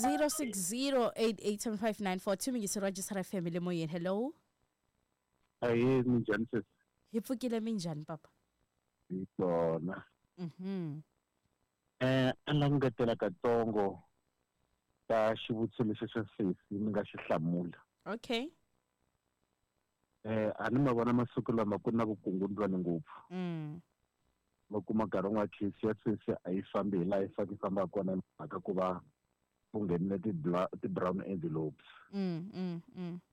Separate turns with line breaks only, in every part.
060887594 mingiseri wa Jisara FM le moyeni. Hello.
Ahee, minjhani sesi?
Hi pfukile, minjhani papa?
Hi kona. A la ngetela katsongo ka xivutiso lexi xa sesi ni nga xi hlamula.
Okay.
A ni ma vona masiku lama ku na vukungundzwani ngopfu. Ma kuma nkarhi wun'wana case ya sesi a yi fambi hi laha yi fanele yi fambaka kona hi mhaka ku va ku nghenile ti-brown envelopes.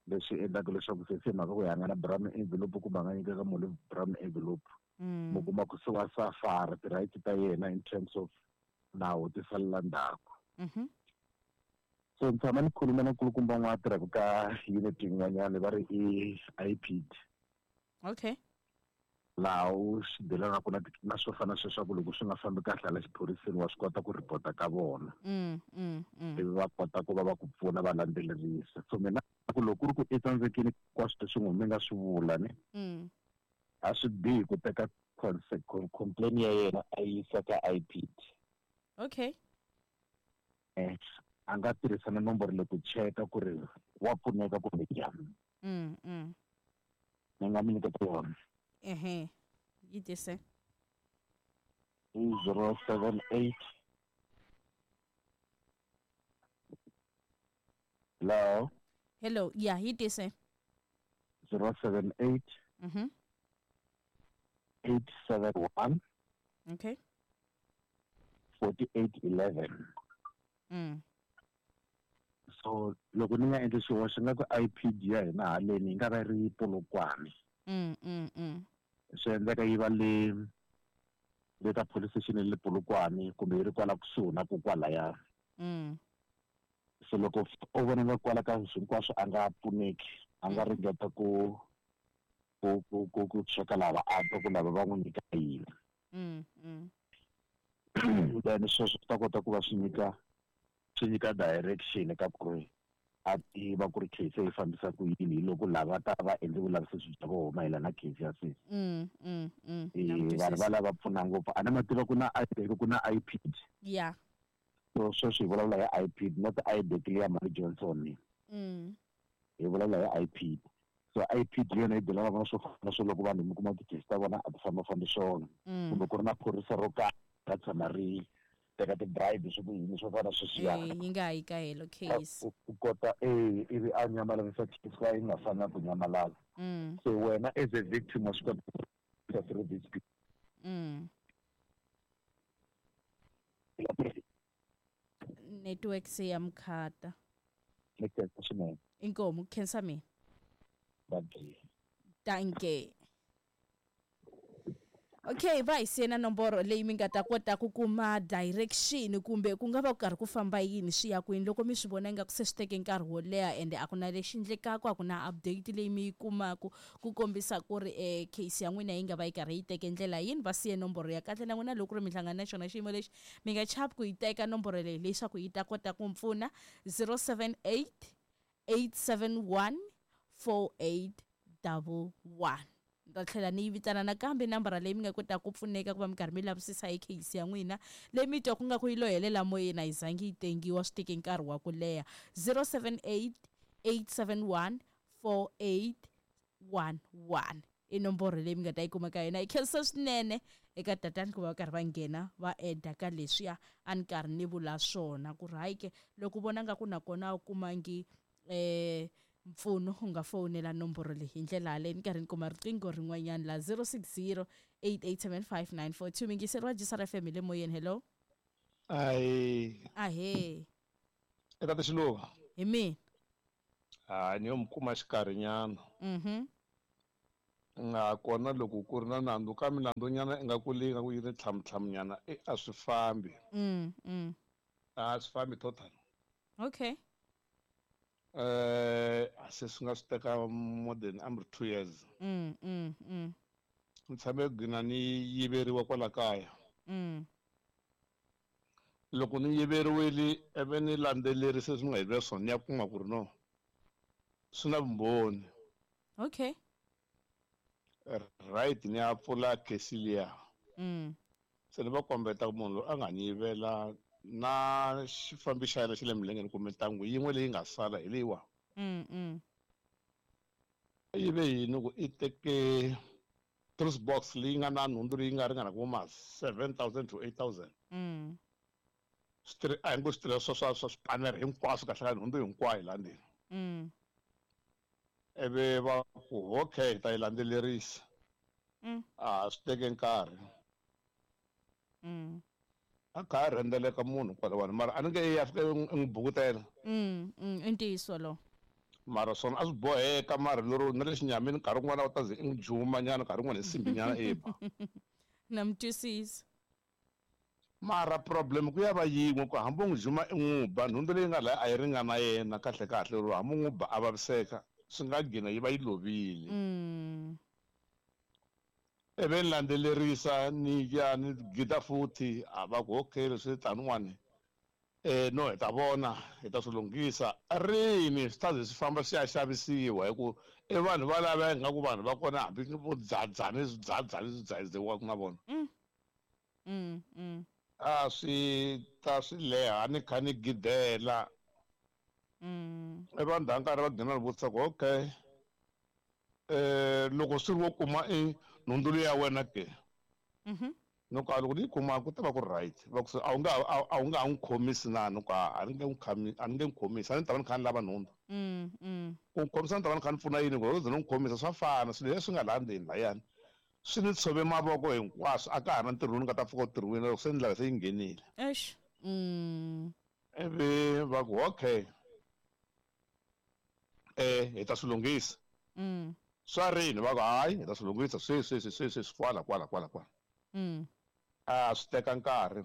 Leswi endlaka leswaku sesi hi mhaka ku hi nga na brown envelope kumbe a nga nyikaka munhu brown envelope. Mu kuma ku se wa safara ti-rights ta yena in terms of nawu ti salela ndzhaku. So ni tshama ni khuluma na nkulukumba un'wana a tirhaka ka unit yin'wanyana va ri i IPD.
Okay.
Laha u swi delanaka na na swo fana sweswaku loko swi nga fambi kahle hala xiphoriseni wa swi kota ku report-a ka vona. Ivi va kota ku va va ku pfuna va landzelerisa. So mina ku loko ku ri ku i tsandzekile hinkwaswo leswi n'wi mi nga swi vula ne. A swi bihi ku teka complaint ya yena a yisa ka IPD.
Okay.
A nga tirhisa na nomboro leyi ku cheka ku ri wa pfuneka kumbe njhani. Ni nga mi nyiketa yona.
Ehe. Yi tise.
I 078. Hello.
Hello, yeah, yi tise.
078. 871.
Okay.
4811. So loko ni nga endli xihoxo nga ku IPD ya hina haleni yi nga va ri Polokwane. Swi endleka yi va le le ka police station le Polokwane kumbe yi ri kwala kusuhi na ku kwalaya. So loko o vona nga kwala ka hinkwaswo a nga pfuneki, a nga ringeta ku ku ku ku ku cheka lava a twa ku lava va n'wi nyika yini. Then sweswo swi ta kota ku va swi nyika swi nyika direction ka ku ri a tiva ku ri case yi fambisa ku yini hi loko lava ta va endle vulavisisi bya vona mayelana na case ya sesi. Vanhu va lava pfuna ngopfu a ni ma tiva ku na IPD ku na IPD.
Yeah.
So sweswi hi vulavula hi IPD not IDEC leya Mali Johnson. Hi vulavula hi IPD. So IPD yona yi dealana na swo fana swo loko vanhu mi kuma ti-case ta vona a ti fambafambi swona. Kumbe ku ri na phorisa ro karhi ra tshama ri teka ti-bribe swi ku yini swo fana sweswiya.
Yi nga yi ka helo case.
Ku kota ivi a nyamalarisa case ka yi nga fanelanga ku nyamalala. So wena as a victim wa swi kota ku through this people.
Network se ya mkhata.
Network swinene.
Inkomu khensa mina. Danke. Okay, va hi siyena nomboro leyi mi nga ta kota ku kuma direction kumbe ku nga va ku karhi ku famba yini swi ya kwini loko mi swi vona ingaku se swi teke nkarhi wo leha ende a ku na lexi endlekaka a ku na update leyi mi yi kumaka ku kombisa ku ri case ya n'wina yi nga va yi karhi yi teke ndlela yini. Va siye nomboro ya kahle na n'wina loko ku ri mi hlangana na xona xiyimo lexi mi nga chavi ku yi teka nomboro leyi leswaku yi ta kota ku pfuna 078 871 4811. Ni ta tlhela ni yi vitana nakambe nambara leyi mi nga kotaka ku pfuneka ku va mi karhi mi lavisisa hi case ya n'wina leyi mi twa ku nga ku yi lo helela moyeni a yi zangi yi tengiwa swi teke nkarhi wa ku leha 078 871 4811 i nomboro leyi mi nga ta yi kuma ka yona. Hi khensa swinene eka tatani ku va karhi va nghena va eda ka leswiya a ni karhi ni vula swona ku ri hayi ke loko u vona nga ku nakona a wu kumangi mpfuno u nga fowunela nomboro leyi hi ndlela yaleyo. Ni karhi ni kuma riqingho rin'wanyana la 060 8875942. Mingiseri wa Jisara FM hi le moyeni. Hello.
Ahee.
Ahee.
I tata Xiluva.
Hi mina.
Ni yo mi kuma xikarhinyana. Nga kona loko ku ri na nandzu ka milandzunyana ingaku leyi nga ku yi ri tlhamutlhamunyana e a swi fambi. A swi fambi total.
Okay.
Se swi nga swi teka more than amri 2 years. Ni tshame gcina ni yiveriwa kwala kaya. Loko ni yiveriwile ivi ni landzelerise swi nga yiveriwa swona ni ya kuma ku ri no swi na vumbhoni.
Okay.
Right, ni ya pfula case liya. Se ni va kombeta ku munhu loyi a nga ni yivela Na xifambi xa yena xa le milengeni kumbe ntangu yin'we leyi nga sala hi leyiwa. Yi ve yini ku i teke truss box leyi nga na nhundzu leyi nga ringana ku ma 7000 to 8000. A hi ngo switirhisiwa swa swipanere hinkwaswo kahle ka nhundzu hinkwayo laha ndzeni. Ivi va ku okay hi ta yi landzelerisa. A swi teke nkarhi. A kha a rhendzeleka munhu kwalawani mara a ni nge ya fika i n'wi bukutela.
I ntiyiso lowo.
Mara swona a swi boheka mara lero na le xinyamini nkarhi wun'wana u ta ze i n'wi juma nyana nkarhi wun'wana hi simbi nyana i ba.
Na mi twisisa.
Mara problem ku ya va yin'we ku hambi u n'wi juma i n'wi ba nhundzu leyi nga laya a yi ringana yena kahle kahle lero hambi u n'wi ba a vaviseka swi nga gina yi va yi lovile. Ivi ni landzelerisa ni ya ni gida futhi a va ku okay leswi taniwani no hi ta vona hi ta swi lunghisa rini swi ta ze swi famba swi ya xavisiwa hi ku i vanhu va lava ingaku vanhu va kona hambi vo dzadzani swidzadzani swi dzadziwaka na vona. A swi ta swi leha ni kha ni gidela. I vanhu va nkarhi va gina ni vutisa ku okay loko swi ri wo kuma i nhundzu leyi ya wena ke. Ni ku a loko ni yi kuma ku ta va ku ri right va ku a wu nga a wu nga ha n'wi khomisi na ni ku a ni nge n'wi khami a ni nge n'wi khomisi a ni ta va ni kha ni lava nhundzu. Ku n'wi khomisa ni ta va ni kha ni pfuna yini ku loko ze ni n'wi khomisa swa fana swilo leswi nga laha ndzeni layani swi ni tshove mavoko hinkwaswo a ka ha ri na ntirho lowu ni nga ta pfuka u tirhiwile loko se ndlela se yi nghenile.
Eish.
Ivi va ku okay hi ta swi lunghisa. Swa rini va ku hayi hi ta swi lunghisa sweswi sweswi sweswi sweswi kwala kwala kwala kwala. A swi teka nkarhi.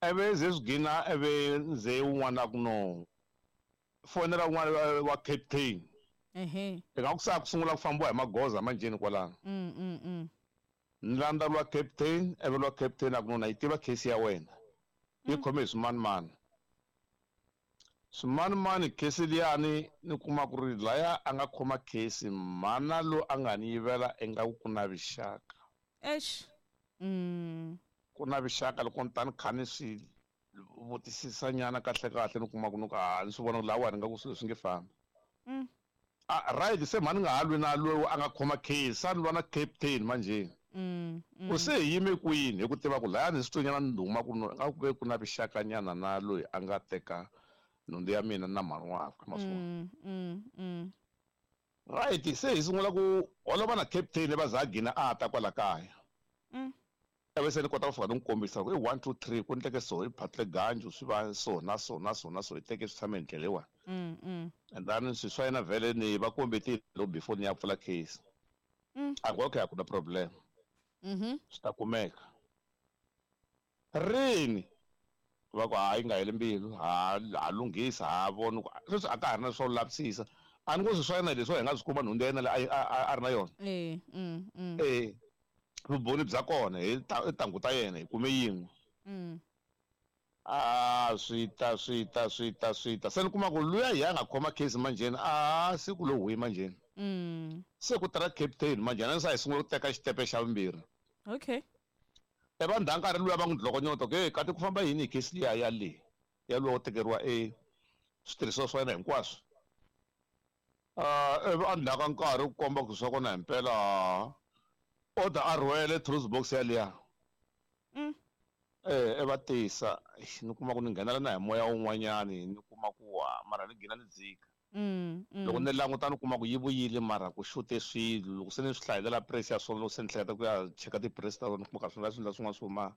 Ivi ze swi gina ivi nze wun'wana ku no fonela un'wana wa captain. Ingaku se a ku sungula ku fambiwa hi magoza manjheni kwalano. Ni landza lwa captain ivi lwa captain a ku no na yi tiva case ya wena. Yi khome hi swimanimani. Swimanimani case liyani ni kuma ku ri laya a nga khoma case mhana lo a nga ni yivela ingaku ku na vuxaka.
Eish.
Ku na vuxaka loko ni ta ni kha ni swi vutisisa nyana kahle kahle ni kuma ku ni ku a ni swi vona ku lawani nga ku swilo swi nge fambi. A right se mhani nga ha lwi na loyi a nga khoma case se a ni lwa na captain manjheni. Ku se hi yime kwini hi ku tiva ku laya ni swi tonyana ni duma ku no nga ku ve ku na vuxaka nyana na loyi a nga teka nhundzu ya mina na mhani wakwe ma swi vona. Right se hi sungula ku holova na captain va za a gina a ta kwala kaya. Ivi se ni kota ku fika ni n'wi kombisa ku i 1 2 3 ku endleke so i phatle ganju swi va so na so na so na so i teke swi tshame hi ndlela leyiwani. And then swi swa yena vhele ni va kombetile loko before ni ya pfula case. A ku okay a ku na problem. Swi ta kumeka. Rini va ku hayi nga heli mbilu ha lunghisa ha vona ku sweswi a ka ha ri na swo lavisisa. A ni ngo swi swa yena leswi hi nga swi kuma nhundzu ya yena leyi a ri na yona. Vumbhoni bya kona hi tintangu ta yena hi kume yin'we. A swi ta swi ta swi ta swi ta se ni kuma ku luya hi a nga khoma case manjheni a siku lo huyi manjheni. Se ku tirha captain manjheni a ni sa hi sungula ku teka xitepe xa vumbirhi.
Okay.
E vanhu nkarhi luya va n'wi dlokonyota ku hey kati ku famba yini hi case liya ya le ya luwa wo tekeriwa e switirhisiwa swa yena hinkwaswo. Ivi a ndzhaku ka nkarhi ku komba ku swa kona himpela order a rhwele truss box ya liya. E va tisa ni kuma ku ni nghenela na hi moya wun'wanyani ni kuma ku mara ni gina ni dzika. Loko ni languta ni kuma ku yi vuyile mara ku xute swilo loko se ni swi hlayelela price ya swona loko se ni hleketa ku ya cheka ti-price ta vona ni kuma ka swi nga swilo swin'wana swi huma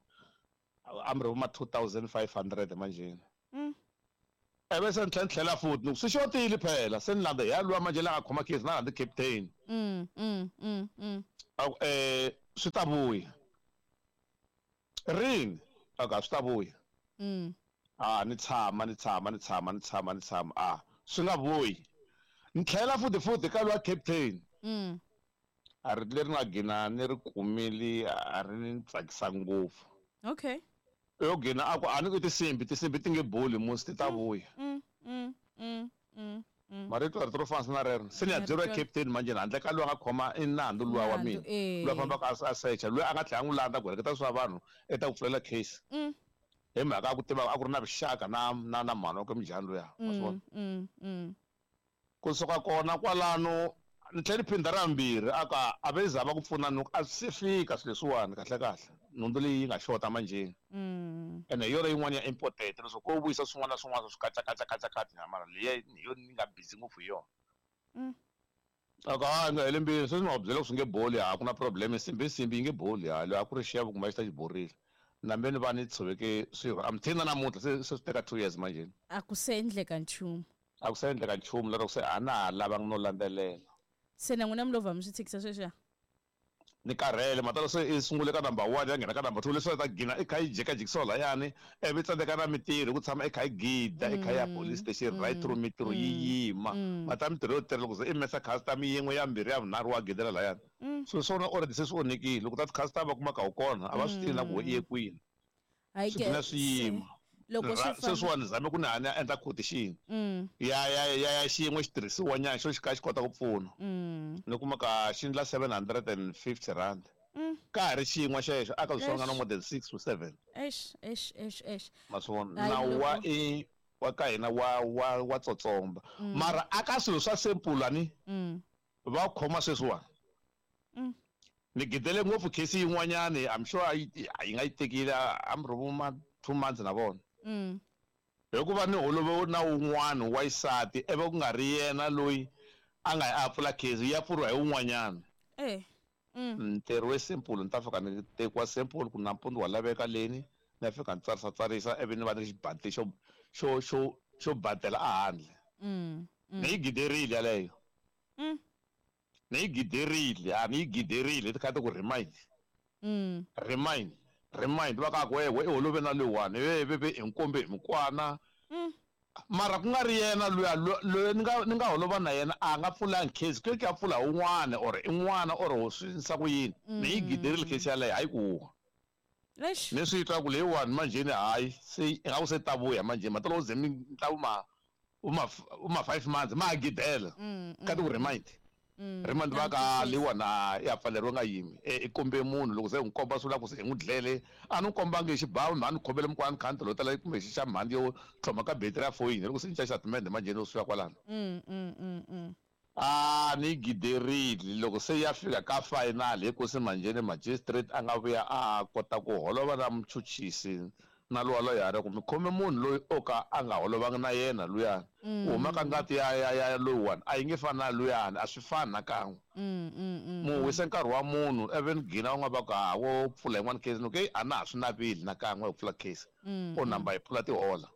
a mi ri ma 2500 manjheni. Ivi se ni tlhela ni tlhela futhi ni ku swi xotile phela se ni landza hi ya luwa manjhe la nga khoma case na landza captain. A ku swi ta vuya. Rini a ku a swi ta vuya. A ni tshama ni tshama ni tshama ni tshama ni tshama a swi nga vuyi. Ni tlhela futhi futhi ka luwa captain. A ri leri nga gina ni ri kumile a ri ni tsakisa ngopfu.
Okay.
Yo gina a ku a ni ku tinsimbi tinsimbi ti nge boli musi ti ta vuya. Marito rito ro fana na rero. Se ni ya byeriwa captain manjheni handle ka loyi a nga khoma i nandzu luwa wa mina. Luwa fambaka a secha loyi a nga tlhela a n'wi landza ku heleketa swa vanhu i ta ku pfulela case. Hi mhaka ya ku tiva a ku ri na vuxaka na na na mhani wa ka Minjhani luya, wa swi vona. Kusuka kona kwalano ni tlhela ni phindha ra vumbirhi a ku a ve za va ku pfuna ni ku a swi se fika swilo leswiwani kahle kahle nhundzu leyi yi nga xota manjheni. Ene hi yona yin'wana ya important leswaku ko vuyisa swin'wana na swin'wana swi katsakatsakatsakatsanya mara leyi hi yona ni nga busy ngopfu hi yona. A ku ha nga heli mbilu sweswi ni va byela ku swi nge boli a ku na problem nsimbi i nsimbi yi nge boli ha loyi a ku ri xevo kumbe a xi ta xi borile. Nambe ni va ni tshoveke swirho a mthini na namuntlha se se swi teka 2 years manjheni.
A ku se endleka nchumu.
A ku se endleka nchumu lero se a na ha lavangi no landzelela.
Se na n'wina mi lo vha mi swi tshikisa sweswiya?
Ni karhele matalo se i sungule ka number 1 ya nghena ka number 2 leswi a ta gina i kha yi jikajikisiwa layani ivi tsandzeka na mitirho hi ku tshama i kha yi gida i kha ya police station right through mitirho yi yima mata mitirho yo tirha loko se i mesa customer yin'we ya mbirhi ya vunharhu wa gidela layani swilo swa wena already se swi onhekile loko ta ti-customer va kuma ka wu kona a va swi tivi na ku i ye kwini.
Hayi
Swi
ke
gcina swi
se
yima.
loko swi
Ra
famba
sweswiwani ni zame ku ni ha ni ya endla quotation ya ya ya ya xin'we xitirhisiwa nyana xo xi kha xi kota ku pfuna. Ni kuma ka xi endla R750. Ka ha ri xin'we xexo a ka swi nga na
Eish.
more than 6 to 7.
Eish, eish, eish, eish.
Ma swi vona?
Hayi
Nawu wa
loko
i wa ka hina wa wa wa tsotsomba. Mara a ka swilo swa simple ani va khoma sweswiwani. Ni gidele ngopfu case yin'wanyani, I'm sure yi nga yi tekile a mi ri ma 2 months na vona. Hikuva ni holove na wun'wana wa xisati ivi ku nga ri yena loyi a nga ya a pfula case yi ya pfuriwa hi wun'wanyana. Ntirho we simple ni ta fika ni tekiwa simple ku nampundzu wa laveka leni ni ya fika ni tsarisa tsarisa ivi ni va ni ri xibandli xo xo xo xo badela ehandle. Ni yi giderile yaleyo. Ni yi giderile, a ni yi giderile ti kha ti ku remind. Remind, remind va ka ku we i holove na loyiwani ve ve ve hi nkombe hi mikwana. Mara ku nga ri yena luya loyi ni nga ni nga holova na yena a nga pfulangi case ku ya pfula un'wana or i n'wana or swi endlisa ku yini. Ni yi giderile case yaleyo hayi ku huwa.
Eish.
Ni swi twa ku leyiwani manjheni hayi se ingaku se ta vuya manjheni matolo u ze mi ntla ma uma uma 5 months ma gidela. Ka ti ku remind. Remind va ka leyiwani a ya pfaleriwe nga yimi. I kombe munhu loko se n'wi komba swi vula ku se hi n'wi dlele. A ni kombangi hi xibamu, a ni khomele mukwana ni kha ni tolotela kumbe xi xa mhandzi yo tlhoma ka battery ya foyini loko se ni xa xitatimende manjheni yo suka kwalano. A ni giderile loko se ya fika ka final hi ku se manjheni magistrate a nga vuya a kota ku holova na muchuchisi na luwa loyara ku mi khome munhu loyi o ka a nga holovangi na yena luyani. Ku huma ka ngati ya ya ya loyiwani a yi nge fani na luyani, a swi fani na kan'we. Mu wise nkarhi wa munhu even gina u nga va ku ha wo pfula yin'wana case ni ku a na ha swi naveli na kan'we ku pfula case. O namba yi pfula tihola.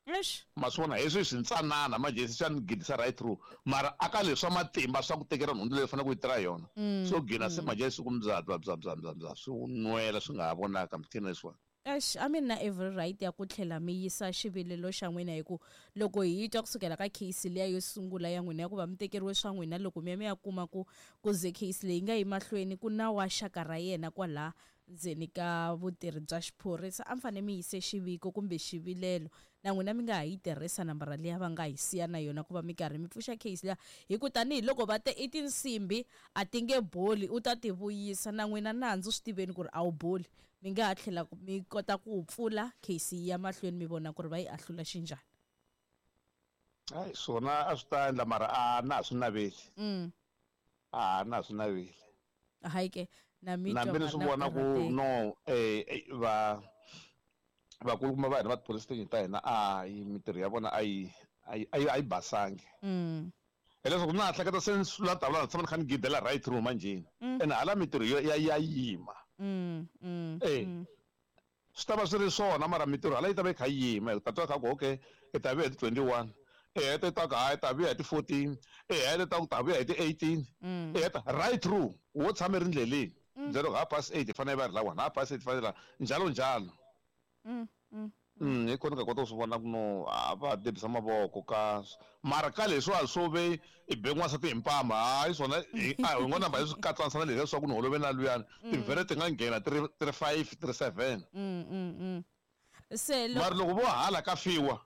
Eish.
Ma swi vona hi swi swintsanana manjhe swi ni gidisa right through mara aka leswi swa matimba swa ku tekela nhundzu leyi faneleke ku yi tirha yona. So gina se manjhe swi ku bya bya bya bya bya bya swi nwela swi nga ha vonaka mthini leswiwani.
Eish, a mi na every right ya ku tlhela mi yisa xivilelo xa n'wina hi ku loko hi twa kusukela ka case liya yo sungula ya n'wina ya ku va mi tekeriwe swa n'wina loko mi ya mi ya kuma ku ku ze case leyi nga yi mahlweni ku na wa xaka ra yena kwala ndzeni ka vutirhi bya xiphorisa a mi fanele mi yise xiviko kumbe xivilelo na n'wina mi nga ha yi tirhisa nambara liya va nga hi siya na yona ku va mi karhi mi pfuxa case liya hi ku tanihiloko va te i tinsimbhi a ti nge boli u ta ti vuyisa na n'wina nandzu swi tiveni ku ri a wu boli mi nga ha tlhela mi kota ku pfula case yi ya mahlweni mi vona ku ri va yi ahlula xinjhani.
Hayi swona a swi ta endla mara a na ha swi naveli. A na ha swi naveli.
Hayi ke na mi
Nambi
twa
ni swi
mara
vona ku
karhateka.
no va vakulukumba va hina va ti-police station ta hina a yi mintirho ya vona a yi a yi a yi basangi. Hileswaku na ha hleketa se ni sula tavula ni tshama ni kha ni gidela right through manjheni. Ene hala mintirho ya ya yima. Swi ta va swi ri swona mara mintirho hala yi ta va yi kha yi yima. Hi ta twa kha ku okay i ta vuya hi ti 21. I heta ta ku hayi ta vuya hi ti 14. I heta ta ku ta vuya hi ti 18. I heta right through wo tshama ri ndleleni. Byela ku 8:30 hi fanele va ri la 1, 8:30 fanele la njalo njalo. Hi kona ka kota ku swi vona ku no a va debisa mavoko ka mara ka leswiwa swo ve i be n'wansati hi mpama hayi swona a hi ngo namba hi swi katsanisa na leswiya swa ku ni holove na luyani tivhele ti nga nghena ti ri 5 ti ri 7.
Se
mara loko vo hala ka fiwa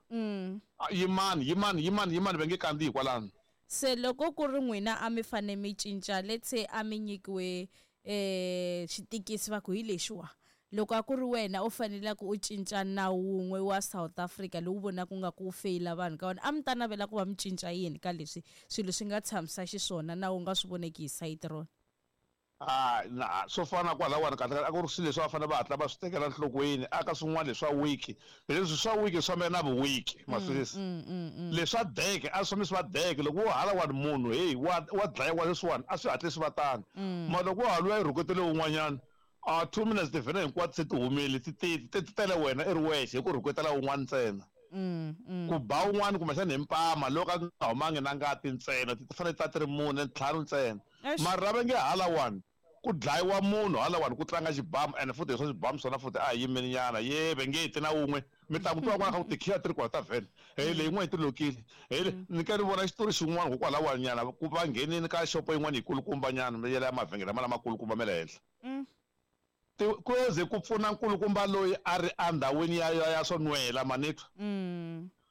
yimani yimani yimani yimani va nge kandziyi kwalano.
Se loko ku ri n'wina a mi fane mi cinca let's say a mi nyikiwe xitikisi va ku hi lexiwa. Loko a ku ri wena u faneleke u cinca nawu wun'we wa South Africa lowu vonaka nga ku wu feyila vanhu ka wona, a mi ta navela ku va mi cinca yini ka leswi swilo swi nga tshamisa xiswona na wu nga swi voneki hi sayiti rona?
A na swo fana na kwalawani kahle kahle a ku ri swilo leswi va fanele va hatla va swi tekela enhlokweni a ka swin'wana leswa weak leswi swa weak swi fambelana na vuwiki ma swi twisisa leswa deke a swi fambi swi va deke loko wo halawani munhu heyi wa wa dlayiwa leswiwani a swi hatli swi va tano mara loko wo ha luya i rhuketele wun'wanyana a 2 minutes tivhene hinkwato se ti humile ti ti ti tele wena i ri wexe hi ku rhuketela wun'wana ntsena ku ba wun'wana kumbexana hi mpama loko a nga humangi na ngati ntsena ti fanele ti ta ti ri mune ntlhanu ntsena mara va nge halawani ku dlayiwa munhu halawani ku tlanga xibamu ene futhi hi swa xibamu swona futhi a hi yimeni nyana ye va nge ti na wun'we mi ta ku twa n'wana ku tikhiya ti ri kona ta vhene he leyi yin'wana yi ti lokile he ni ka ni vona xitori xin'wana kokwalawani nyana ku va nghenini ka xopo yin'wana yikulukumba nyana ya le mavhengele lama lamakulukumba ma le henhla ku ze ku pfuna nkulukumba loyi a ri endhawini ya ya swo nwela manitwa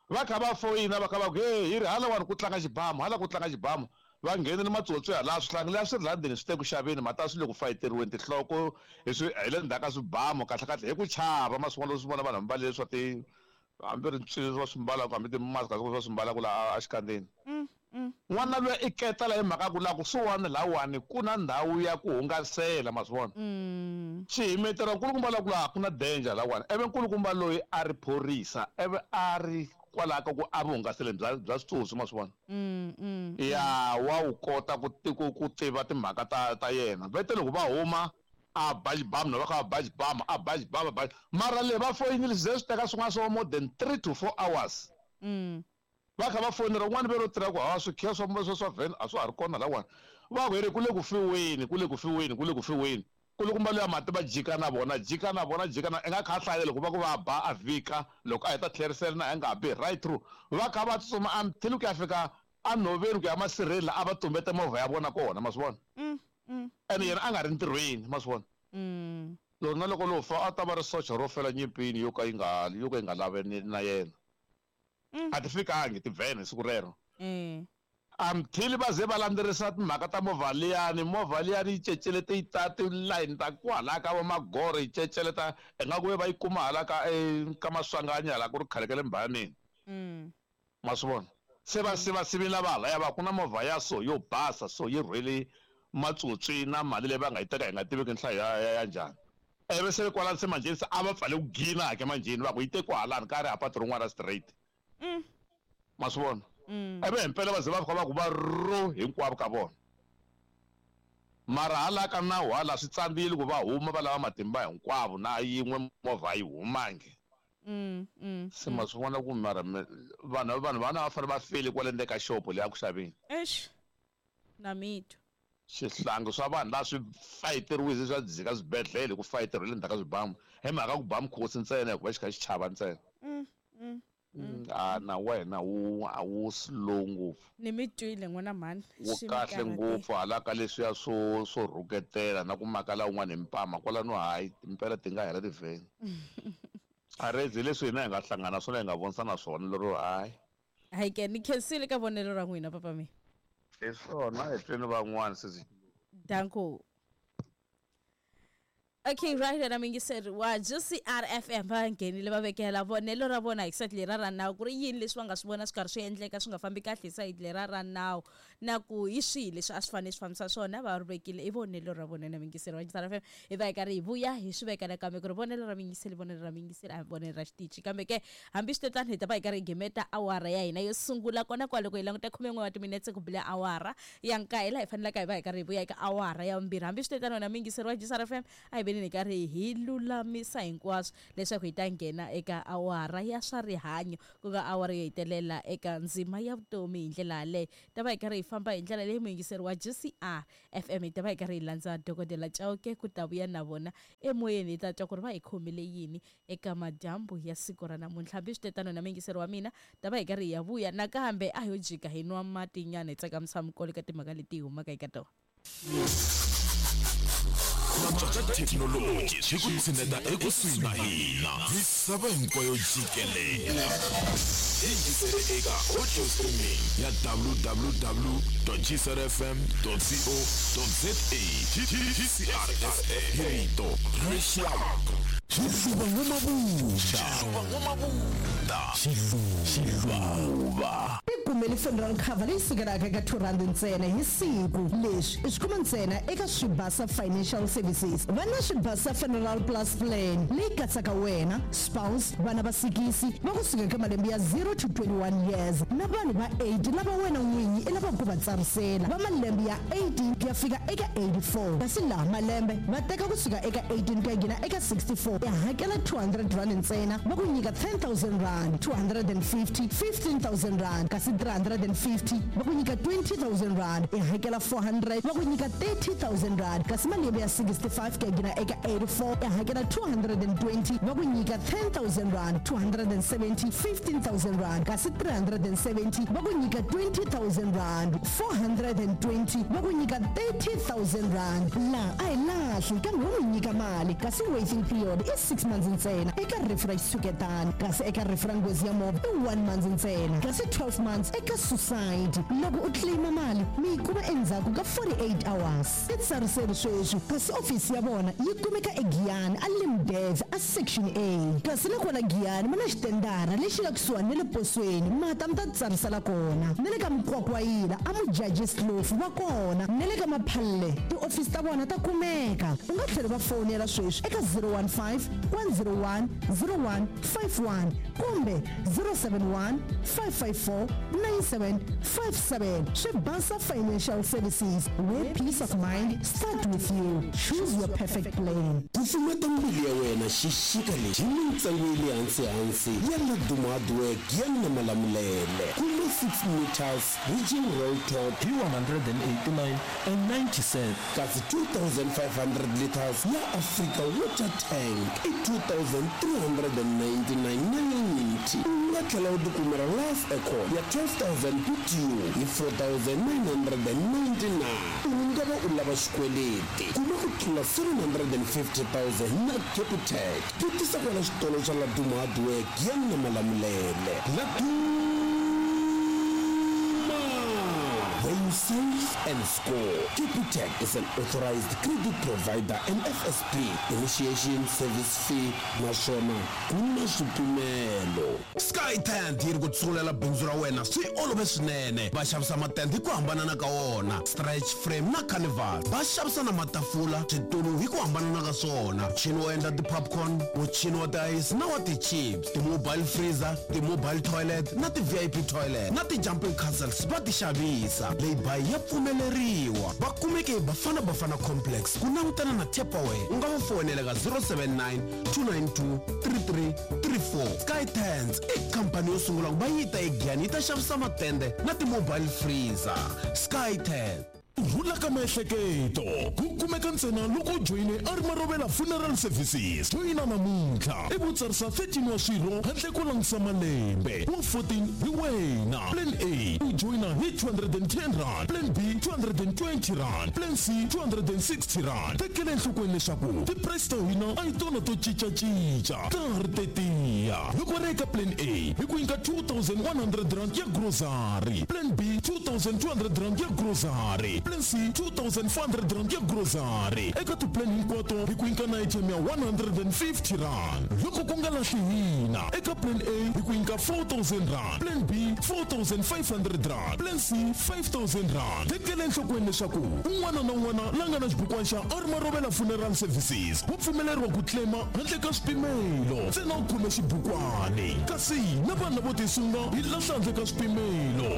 va kha va foyina va kha va ku he hi ri halawani ku tlanga xibamu hala ku tlanga xibamu va nghenile matsotsi hala swihlangi leswi swi ri la ndzeni swi te ku xaveni mata swi le ku fayiteriweni tinhloko hi swi hi le ndzhaku ka swibamu kahle kahle hi ku chava ma swi vona swi vona vanhu va mbale swa ti hambi ri swilo va swi mbalaka hambi ti-mask va swi mbalaka laha exikandzeni n'wana luya i ketela hi mhaka ku laha kusuhani lahawani ku na ndhawu ya ku hungasela ma swi vona xihimetela nkulukumba la ku laha ku na danger lahawani ivi nkulukumba loyi a ri phorisa ivi a ri kwalaho ka ku a vuhungaseleni bya bya switsotsi ma swi vona ya wa wu kota ku ku ku tiva timhaka ta ta yena vete loko va huma a ba xibamu na va kha va ba xibamu a ba xibamu a ba mara le va foyinile swi ze swi teka swin'wana swo more than 3 to 4 hours va kha va fonela un'wana ve ro tirha ku hawa swikhiya swa swa swa vhene a swa ha ri kona lawani va ku here ku le ku fiweni ku le ku fiweni ku le ku fiweni kulukumba luya mati va jika na vona jika na vona jika na i nga kha a hlayela loko va ku va ba a vhika loko a heta tlherisela na a nga bi right through va kha va tsutsuma until ku ya fika enhoveni ku ya masirheni la a va tumbete movha ya vona kona ma swi vona ene yena a nga ri ntirhweni ma swi vona loko na loko lo fa a ta va ri socha ro fela nyimpini yo ka yi nga yo ka yi nga laveni na yena a ti fikangi tivhene siku rero until va ze va landzelerisa timhaka ta movha liyani movha liyani yi cecelete yi ta tilayini ta kwalaya ka va magoro yi ceceleta ingaku ve va yi kuma hala ka ka maswanganyi hala ku ri khale ka le mbhayaneni ma swi vona se va sivasivile va halaya va ku na movha ya so yo basa so yi rhwele matsotsi na mali leyi va nga yi teka hi nga tiveki nhlayo ya ya ya njhani ivi se kwalani se manjheni se a va pfale ku gina ke manjheni va ku yi te kwahalani ka ri ha patu rin'wana ra straight ma swi vona ivi himpela va ze va fika va ku va ro hinkwavo ka vona mara hala ka nawu hala swi tsandzile ku va huma va lava matimba hinkwavo na yin'we movha yi humangi se ma swi vona ku mara vanhu vanhu vana va fanele va fele kwale ndzeni ka xopo leyi a ku xaveni
Eish. Na mitwa.
Swihlangi swa vanhu laha swi fayiteriwile swa dzika swibedhlele hi ku fayiteriwa le ndzhaku ka swibamu hi mhaka ku ba mukhosi ntsena hikuva xi kha xi chava ntsena a na wena wu a wu slow ngopfu
Ni mi twile n'wina mhani.
Wu
Swi mi
kahle
karhatile.
ngopfu hala ka leswiya swo swo rhuketela na ku makala un'wana hi mpama kwalano hayi timpela ti nga hela tivheni a rezi hi leswi hina hi nga hlangana swona hi nga vonisana swona lero hayi
Hayi ke ni khensile ka vonelo ra n'wina papa mi.
Hi swona hi tweni van'wana sesi.
Danko. Okay, right na mingiseri wa GCR FM va nghenile va vekela vonelo ra vona hi sayiti lera ra nawu ku ri yini leswi va nga swi vona swi karhi swi endleka swi nga fambi kahle hi sayiti lera ra nawu na ku hi swihi leswi a swi fanele swi fambisa swona va ri vekile i vonelo ra vona na mingiseri wa GCR FM hi va hi karhi hi vuya hi swi veka nakambe ku ri vonelo ra muyingiseri vonelo ra muyingiseri a hi vonelo ra xitichi kambe ke hambi swi te tano hi ta va hi karhi hi gimeta awara ya hina yo sungula kona kwale loko hi languta 11 wa timinetse ku bile awara ya nkaye laha hi fanelaka hi va hi karhi hi vuya eka awara ya vumbirhi hambi swi te tano wena muyingiseri wa GCR FM a hi veni hi karhi hi lulamisa hinkwaswo leswaku hi ta nghena eka awara ya swa rihanyo ku nga awara yo hetelela eka ndzima ya vutomi hi ndlela yaleyo ta va hi karhi hi famba hi ndlela leyi muyingiseri wa GCR FM hi ta va hi karhi hi landza dokodela Chauke ku ta vuya na vona emoyeni hi ta twa ku ri va hi khomile yini eka madyambu ya siku ra namuntlha hambi swi te tano na muyingiseri wa mina ta va hi karhi hi ya vuya nakambe a ho jika hi nwa mati nyana hi tsakamisa mikolo eka timhaka leti hi humaka eka tona
Thekinoloji swi ku tshineta ekusuhi na hina misava hinkwayo jikelele. Yingisele eka audio streaming ya www.gcrfm.co.za. GCR FM, hi rito ra rixaka. Xiluva N'wamabunda. Xiluva N'wamabunda. Xiluva.
Tikumeli funeral cover leyi sukelaka eka R2 ntsena hi siku. Leswi i swi kuma ntsena eka Swibasa Financial Services. Va na Swibasa Funeral Plus Plan leyi katsaka wena, spouse, vana va sikisi va kusuka eka malembe ya 0 to 21 years na vanhu va 8 lava wena n'winyi i lavaka ku va tsarisela va malembe ya 18 ku ya fika eka 84. Kasi laha malembe va teka kusuka eka 18 ku ya nghena eka 64, i hakela R200 ntsena va ku nyika R10 000, 250 R15 000, kasi 350 va ku nyika R20 000, i hakela 400 va ku nyika R30 000, kasi malembe ya 65 ku ya nghena eka 84, i hakela 220 va ku nyika R10 000, 270 R15 000, kasi 370 va ku nyika R20 000, 420 va ku nyika R30 000. Laha a hi lahli kambe wo mi nyika mali, kasi waiting period i 6 months ntsena eka rifu ra xitshuketana, kasi eka rifu ra nghozi ya movha i 1 month ntsena, kasi 12 months eka suicide. Loko u claima mali mi yi kuma endzhaku ka 48 hours. I tsariseri sweswi, kasi ofisi ya vona yi kumeka eGiyani a Limdev a Section A, kasi na kona Giyani ma na xitendara lexi nga kusuhani na le posweni, mata mi ta tsarisela kona. Na le ka Mukwakwayila a Mujajis Kloof va kona, na le ka Maphalle tiofisi ta vona ta kumeka. U nga tlhela va fonela sweswi eka 015 101 0151 kumbe 071 554 9757. Swibasa Financial Services, where peace of mind start with you. Choose your perfect plan.
Ku pfumeta mbilu ya wena xixika lexi hi mintsengo ya le hansi-hansi ya Laduma Hardwork ya na Malamulele. Kuma 6 meters Region Roll Top
hi 189 and 90 cents,
kasi 2500 liters ya Africa Water Tank i 2399.90. U nga tlhela u tikumela Life Aircon ya 12000 BTU hi 4999. U nga va u lava xikweleti, kuma ku tlula 750 000 na Capitec. Vutisa kwala xitolo xa Laduma Hardwork ya na Malamulele. Laduma, where you save and score. Capitec is an authorized credit provider and FSP. Initiation service fee naswona ku na swipimelo. Sky Tent yi ri ku tsungulela bindzu ra wena swi olove swinene. Va xavisa matende hi ku hambanana ka wona, stretch frame na carnival. Va xavisa na matafula, switulu hi ku hambanana ka swona, muchini wo endla ti-popcorn, muchini wa ti-ice na wa ti-chips, ti-mobile freezer, ti-mobile toilet na ti-VIP toilet na ti-jumping castles va ti xavisa. Lay-by ya pfumeleriwa. Va kumeke hi Bafana Bafana Complex ku langutana na Tupperware. U nga va fonela ka 079 292 3334. Sky Tents i khampani yo sungula ku va yi ta eGiyani yi ta xavisa matende na ti-mobile freezer. Sky Tent.
Rhula ka miehleketo ku kumeka ntsena loko u joyine a ri Marovela Funeral Services. Joyina namuntlha i vutsarisa 13 wa swirho handle ko langutisa malembe, wa 14 hi wena. Plan A u joyina hi R210, plan B R220, plan C R260. Tekela enhlokweni leswaku ti-price ta hina a hi tona to cincacinca, ta ha ri tetiya. Loko ri eka plan A hi ku nyika R2100 ya grocery, plan B R2200 ya grocery, plan C R2400 ya grocery. Eka tiplan hinkwato hi ku nyika na ATM ya R150. Loko ku nga lahli hina, eka plan A hi ku nyika R4000, plan B R4500, plan C R5000. Tekela enhlokweni leswaku un'wana na un'wana la nga na xibukwani xa a ri Marovela Funeral Services wa pfumeleriwa ku claima handle ka swipimelo, ntsena u khome xibukwani. Kasi na vanhu lavo tisunga hi lahla handle ka swipimelo.